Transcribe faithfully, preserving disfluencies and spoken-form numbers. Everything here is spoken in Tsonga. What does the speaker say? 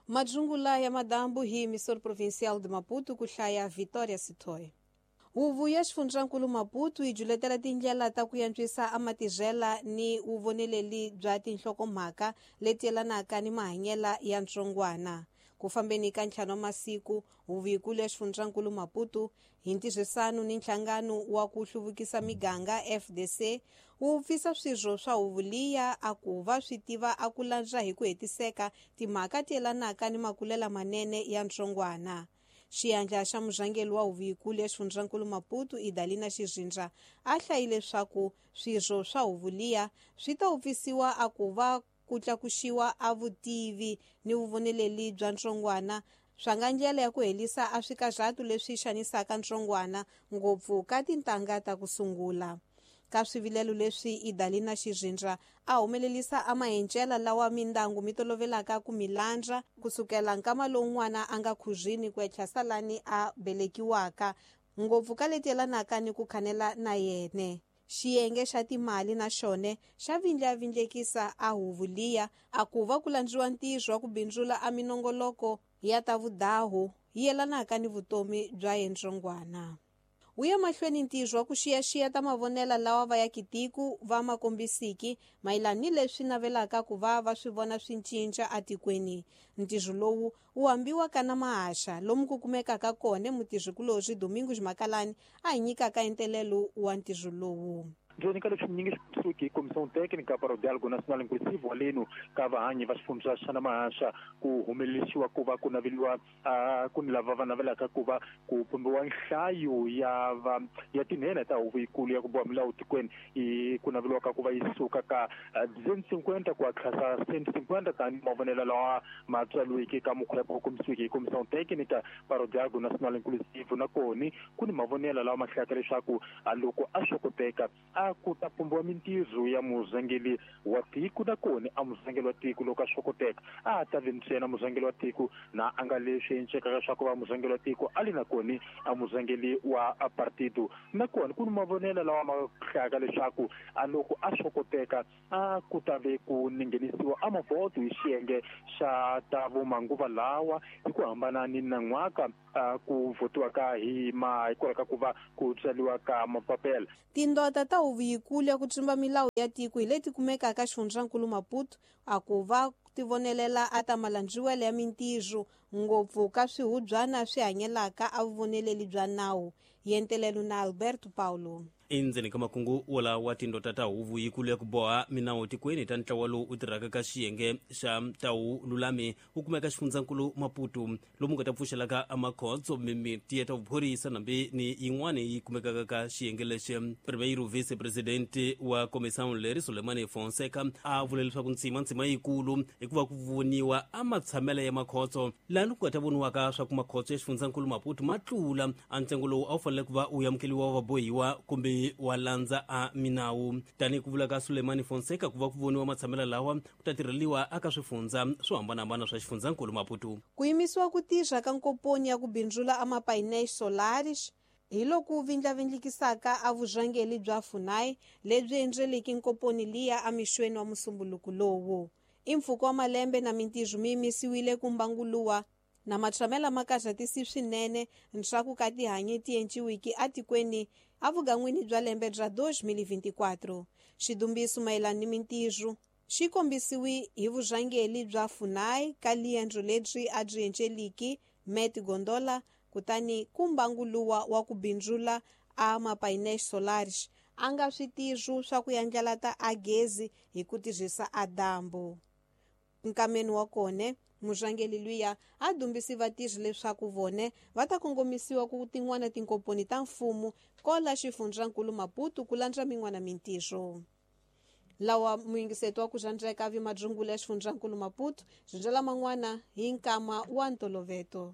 Madzungula ya madambu hi emissor provincial de Maputo ku hlaya Vitória Sitoy. Huvo ya xifundzankulu Maputo yi juletela tindlela ta ku antswisa amatirhela ni vuvoneleli bya tinhlokomhaka leti yelanaka ni mahanyela ya ntsongwana. Ku fambeni ka ntlhanu wa masiku, huvo yikulu ya xifundzankulu Maputo hi ntirhisano ni nhlangano wa ku hluvukisa miganga F D C wu pfisa swirho swa huvo liya a ku va swi tiva a ku landza hi ku hetiseka timhaka ti yelanaka ni makulela manene ya ntsongwana. Xiyandla xa murhangeri wa huvo yikulu ya xifundzankulu Maputo Idalina Xirindza a hlayile leswaku swirho swa huvo liya swi ta upfisiwa a ku va ku tlakuxiwa a vutivi ni vuvoneleli bya ntsongwana swa nga ndlela ya ku helisa a swikarhatu leswi xanisaka ntsongwana ngopfu ka tintangha ta ku sungula. Ka swivilelo leswi Idalina Xirindza a humelelisa a mahencela lawa mindyangu mi tolovelaka ku milandza kusukela nkama lowu n'wana a nga khuzwini ku etlha salani a belekiwaka ngopfu ka leti yelanaka ni ku khanela na yene. Xiyenge xa timali na xone xa vindlavindlekisa a huvo liya a ku va ku landziwa ntirho wa ku bindzula a minongoloko ya ta vudahu yi yelanaka ni vutomi bya yentsongwana. Wu ya mahlweni ntirho wa ku xiyaxiya ta mavonela lawa va ya kitiku va makombisiki mayelana ni leswi navelaka ku va va swi vona swi cinca atikweni. Ntirho lowu wu ambiwa ka na mahaxa lomu ku kumekaka kona mutirhikulorhi Domingos Makalani a hi nyikaka entelelo wa ntirho lowu. Ndzeni ka leswi nyingi xisuki Comissão Técnica para o Diálogo Nacional Inclusivo aleno ka vahanyi va xifundza xa Namahaxa ku humelerisiwa ku va ku naveliwa ku ni lava va navelaka ku va ku pumbiwa nhlayo ya va ya tinhena ta huvo yikulu ya ku boha milawu tikweni i ku naveliwaka ku va yi suka ka duzentos e cinquenta ku tlhasa cento e cinquenta tani mavonelo lawa ma tswaliweke ka mukhwepo komisiweke hi Comissão Técnica para o Diálogo Nacional Inclusivo na koni ku ni mavonelo lawa ma hlayaka leswaku loko a swo koteka a ku ta pumbiwa mintirho ya murhangeri wa tiko na kona a murhangeri wa tiko loko a swo koteka a ta vi ntsena murhangeri wa tiko na a nga leswi encekaka swa ku va murhangeri wa tiko a li na kona a murhangeri wa partido na kona ku ni mavonelo lawa ma hlayaka leswaku a loko a swo koteka a ku ta ve ku nghenisiwa a mavoto hi xiyenge xa ta vumanguva lawa hi ku hambana ni nan'waka ku votiwa ka hi ma hikwalaho ka ku va ku tswariwa ka mapapela. Tindota ta huvo yikulu ya ku tsumba milawu ya tiko hi leti kumekaka xifundzankulu Maputo a ku va tivonelela a ta malandziwele ya mintirho ngopfu ka swihubyana swi hanyelaka a vuvoneleli bya nawu. Yentelelo na Alberto Paulo. Endzeni ka makungu wala wa tindota ta huvo yikulu ya ku boha minawu tikweni ta ntlawa lowu u tirhaka ka xiyenge xa tawu lulami wu kumeka xifundzankulu Maputo lomu nga ta pfuxelaka amakhotso mimiti ya ta vuphorisa nambi ni yin'wani yi kumekaka ka xiyenge lexi. Primeiro vice-presidente wa comissão leri Sulemani Fonseca a vule leswaku ntsima ntsima yikulu hikuva ku voniwa a matshamelo ya makhotso laha ku nga ta voniwaka swa ku makhotso ya xifundzankulu Maputo ma tlula a ntsengo lowu a wu fanele ku va wu amukeliwa vabohiwa kumbe wa landza a minawu. Tanihi ku vula ka Sulemani Fonseca ku va ku voniwa matshamelo lawa ku ta tirheliwa aka swifundza swo hambanahambana swa xifundzankulu Maputo. Ku yimisiwa ku tirha ka nkomponi ya ku bindzula a mapainéis solares hi loko vindlavindlikisaka a vurhangeri bya FUNAI lebyi endleliki nkomponi liya emixweni wa musumbuluku lowu. I mpfhuka wa malembe na mintirho mi yimisiwile ku mbanguluwa na matshamela ma karhatisi swinene ntshaku ka tihanyi ti enciwiki atikweni avugan'wini bya lembe bya dois mil e vinte e quatro. Xidumbiso mayelana ni mintirho xi kombisiwi hi vurhangeri bya FUNAI ka liendlo lebyi a byi enceliki Met Gondola kutani ku mbanguluwa wa ku bindzula a mapainéis solares a nga switirho swa ku yandlalata a gezi hi ku tirhisa a dyambu. Nkameni wa kona murhangeri luya a dumbisi vatirhi leswaku vone va ta kongomisiwa ku tin'wana tinkomponi ta mfumo kola xifundzankulu Maputo ku landza min'wana mintirho. Lawa muyingiseto wa ku rhandzeka vi madzungula ya xifundzankulu Maputo byi ndlela man'wana hi nkama wa ntoloveto.